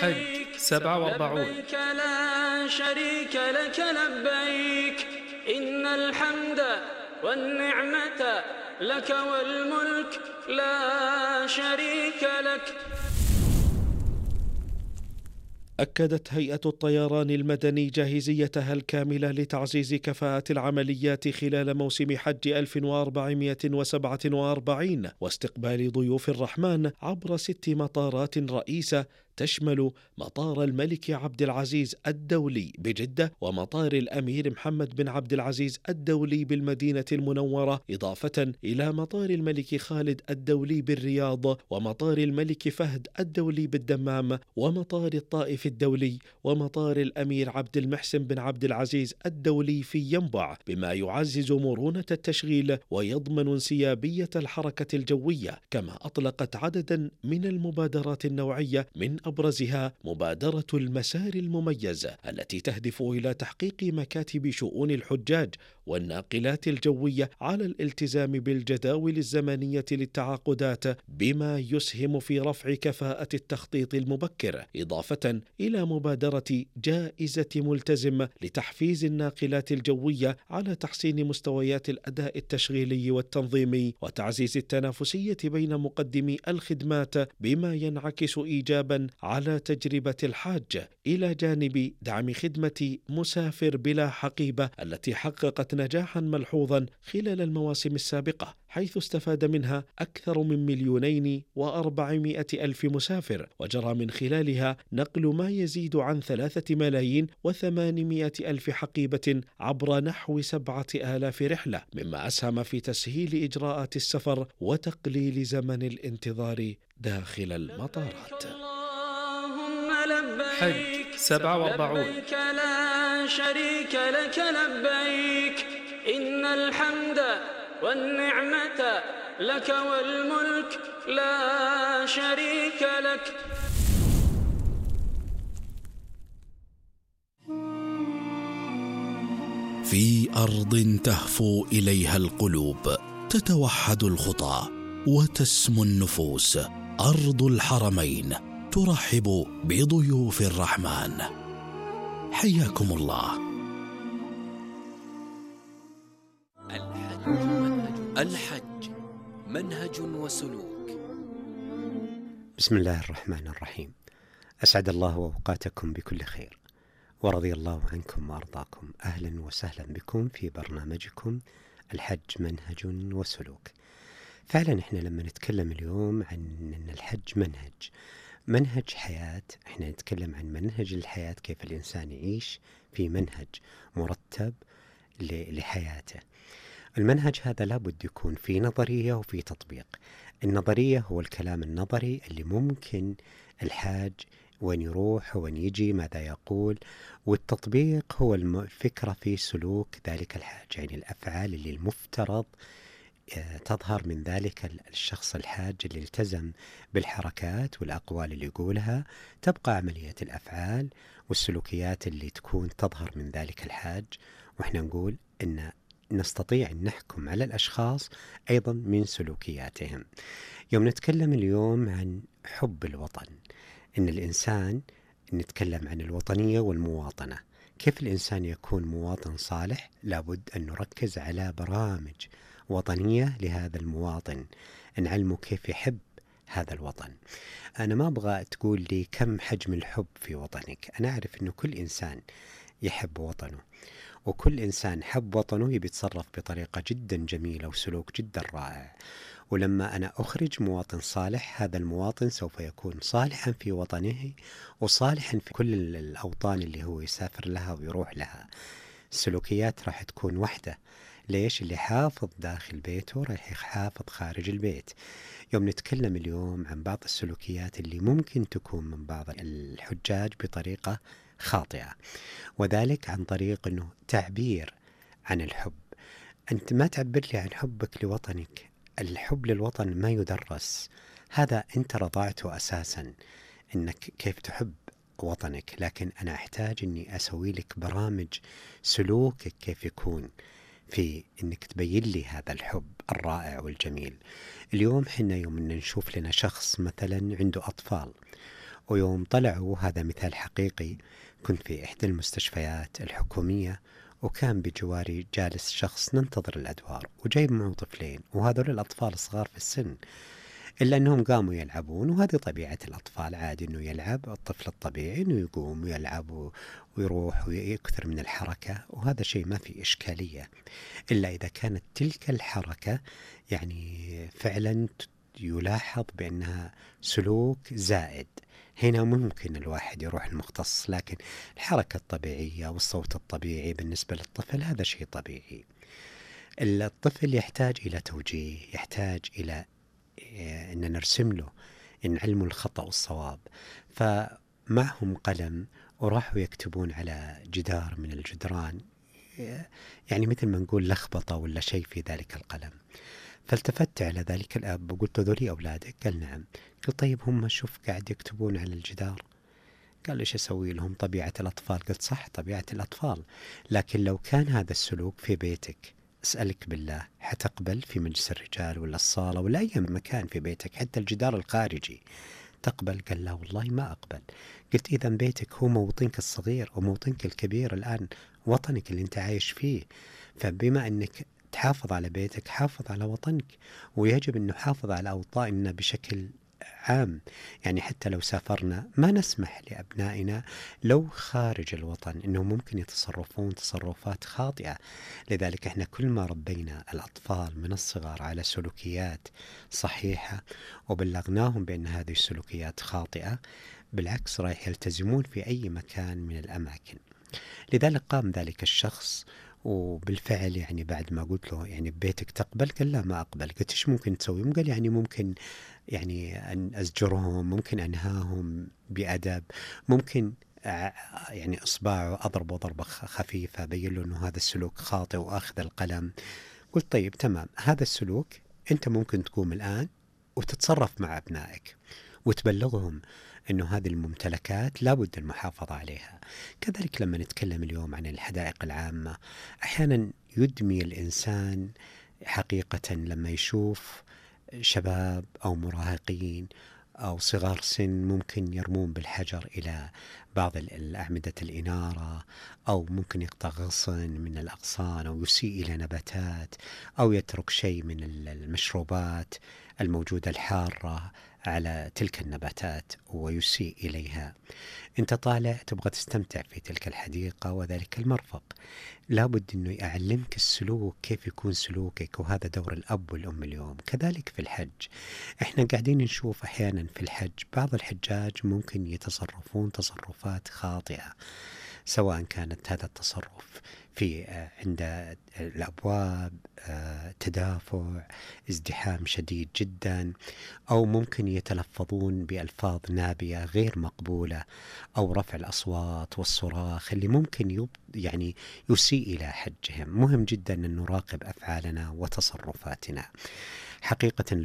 الحج 47. لبيك لا شريك لك لبيك إن الحمد والنعمة لك والملك لا شريك لك. أكدت هيئة الطيران المدني جاهزيتها الكاملة لتعزيز كفاءة العمليات خلال موسم حج 1447 واستقبال ضيوف الرحمن عبر 6 مطارات رئيسة تشمل مطار الملك عبد العزيز الدولي بجدة، ومطار الأمير محمد بن عبد العزيز الدولي بالمدينة المنورة، إضافة إلى مطار الملك خالد الدولي بالرياض، ومطار الملك فهد الدولي بالدمام، ومطار الطائف الدولي، ومطار الأمير عبد المحسن بن عبد العزيز الدولي في ينبع، بما يعزز مرونة التشغيل ويضمن انسيابية الحركة الجوية. كما أطلقت عددا من المبادرات النوعية، من أبرزها مبادرة المسار المميز التي تهدف إلى تحقيق مكاتب شؤون الحجاج والناقلات الجوية على الالتزام بالجداول الزمنية للتعاقدات، بما يسهم في رفع كفاءة التخطيط المبكر، إضافة إلى مبادرة جائزة ملتزم لتحفيز الناقلات الجوية على تحسين مستويات الأداء التشغيلي والتنظيمي وتعزيز التنافسية بين مقدمي الخدمات، بما ينعكس إيجابا على تجربة الحاج، إلى جانب دعم خدمة مسافر بلا حقيبة التي حققت نجاحا ملحوظا خلال المواسم السابقة، حيث استفاد منها أكثر من 2,400,000 مسافر، وجرى من خلالها نقل ما يزيد عن 3,800,000 حقيبة عبر نحو 7,000 رحلة، مما أسهم في تسهيل إجراءات السفر وتقليل زمن الانتظار داخل المطارات. حج 47. لبيك لا شريك لك لبيك إن الحمد والنعمة لك والملك لا شريك لك. في أرض تهفو إليها القلوب، تتوحد الخطى وتسمو النفوس، أرض الحرمين ترحب بضيوف الرحمن. حياكم الله. الحج منهج وسلوك. بسم الله الرحمن الرحيم. أسعد الله أوقاتكم بكل خير، ورضي الله عنكم وأرضاكم. أهلا وسهلا بكم في برنامجكم الحج منهج وسلوك. فعلا احنا لما نتكلم اليوم عن أن الحج منهج حياة، احنا نتكلم عن منهج الحياة، كيف الإنسان يعيش في منهج مرتب لحياته. المنهج هذا لابد يكون في نظرية وفي تطبيق. النظرية هو الكلام النظري اللي ممكن الحاج وين يروح وين يجي ماذا يقول، والتطبيق هو الفكرة في سلوك ذلك الحاج، يعني الأفعال اللي المفترض تظهر من ذلك الشخص الحاج اللي التزم بالحركات والأقوال اللي يقولها. تبقى عملية الأفعال والسلوكيات اللي تكون تظهر من ذلك الحاج، وإحنا نقول إن نستطيع أن نحكم على الأشخاص أيضا من سلوكياتهم. يوم نتكلم اليوم عن حب الوطن، إن الإنسان نتكلم عن الوطنية والمواطنة، كيف الإنسان يكون مواطن صالح. لابد أن نركز على برامج وطنية لهذا المواطن، نعلمه كيف يحب هذا الوطن. أنا ما أبغى تقول لي كم حجم الحب في وطنك، أنا أعرف أنه كل إنسان يحب وطنه، وكل إنسان حب وطنه يبي يتصرف بطريقة جدا جميلة وسلوك جدا رائع. ولما أنا أخرج مواطن صالح، هذا المواطن سوف يكون صالحا في وطنه وصالحا في كل الأوطان اللي هو يسافر لها ويروح لها. السلوكيات راح تكون واحدة. ليش؟ اللي حافظ داخل بيته راح يحافظ خارج البيت. يوم نتكلم اليوم عن بعض السلوكيات اللي ممكن تكون من بعض الحجاج بطريقة خاطئة، وذلك عن طريق أنه تعبير عن الحب. أنت ما تعبر لي عن حبك لوطنك. الحب للوطن ما يدرس، هذا أنت رضعته أساسا أنك كيف تحب وطنك، لكن أنا أحتاج أني أسوي لك برامج سلوكك كيف يكون في أنك تبين لي هذا الحب الرائع والجميل. اليوم حنا يوم نشوف لنا شخص مثلا عنده أطفال ويوم طلعوا، هذا مثال حقيقي، كنت في إحدى المستشفيات الحكومية وكان بجواري جالس شخص ننتظر الأدوار وجايب معه طفلين، وهذول الأطفال الصغار في السن، إلا أنهم قاموا يلعبون، وهذه طبيعة الأطفال، عادي أنه يلعب، الطفل الطبيعي أنه يقوم ويلعب ويروح ويكثر من الحركة، وهذا شيء ما في إشكالية، إلا إذا كانت تلك الحركة يعني فعلا يلاحظ بأنها سلوك زائد. هنا ممكن الواحد يروح المختص، لكن الحركة الطبيعية والصوت الطبيعي بالنسبة للطفل هذا شيء طبيعي. الطفل يحتاج إلى توجيه، يحتاج إلى أن نرسم له، نعلمه الخطأ والصواب. فمعهم قلم وراحوا يكتبون على جدار من الجدران، يعني مثل ما نقول لخبطة ولا شيء في ذلك القلم. فالتفت على ذلك الأب وقلت له: ذولي أولادك؟ قال: نعم. قلت: طيب هم شوف قاعد يكتبون على الجدار. قال: إيش أسوي لهم؟ طبيعة الأطفال. قلت: صح، طبيعة الأطفال، لكن لو كان هذا السلوك في بيتك، أسألك بالله، حتقبل في مجلس الرجال ولا الصالة ولا أي مكان في بيتك، حتى الجدار الخارجي، تقبل؟ قال: لا والله ما أقبل. قلت: إذا بيتك هو موطنك الصغير وموطنك الكبير، الآن وطنك اللي أنت عايش فيه، فبما أنك تحافظ على بيتك حافظ على وطنك، ويجب أن نحافظ على أوطاننا بشكل عام. يعني حتى لو سافرنا ما نسمح لأبنائنا لو خارج الوطن أنهم ممكن يتصرفون تصرفات خاطئة. لذلك احنا كل ما ربينا الأطفال من الصغر على سلوكيات صحيحة وبلغناهم بأن هذه السلوكيات خاطئة، بالعكس رايح يلتزمون في أي مكان من الأماكن. لذلك قام ذلك الشخص، وبالفعل يعني بعد ما قلت له يعني ببيتك تقبل؟ قال: لا ما أقبل. قلت: إيش ممكن تسوي؟ قال: يعني ممكن يعني أن أزجرهم، ممكن أنهاهم بأدب، ممكن يعني إصبعه أضربه ضربة خفيفة أبين له أنه هذا السلوك خاطئ وأخذ القلم. قلت: طيب تمام، هذا السلوك أنت ممكن تقوم الآن وتتصرف مع أبنائك وتبلغهم أنه هذه الممتلكات لابد المحافظة عليها. كذلك لما نتكلم اليوم عن الحدائق العامة، أحيانا يدمي الإنسان حقيقة لما يشوف شباب أو مراهقين أو صغار سن ممكن يرمون بالحجر إلى بعض الأعمدة الإنارة، أو ممكن يقطع غصن من الأغصان، أو يسيء إلى نباتات، أو يترك شيء من المشروبات الموجودة الحارة على تلك النباتات ويسيء إليها. أنت طالع تبغى تستمتع في تلك الحديقة وذلك المرفق، لابد أنه يعلمك السلوك، كيف يكون سلوكك، وهذا دور الأب والأم اليوم. كذلك في الحج، إحنا قاعدين نشوف أحيانا في الحج بعض الحجاج ممكن يتصرفون تصرفات خاطئة، سواء كانت هذا التصرف في عند الأبواب تدافع، ازدحام شديد جدا، أو ممكن يتلفظون بألفاظ نابية غير مقبولة، أو رفع الأصوات والصراخ اللي ممكن يعني يسيء إلى حجهم. مهم جدا أن نراقب أفعالنا وتصرفاتنا. حقيقة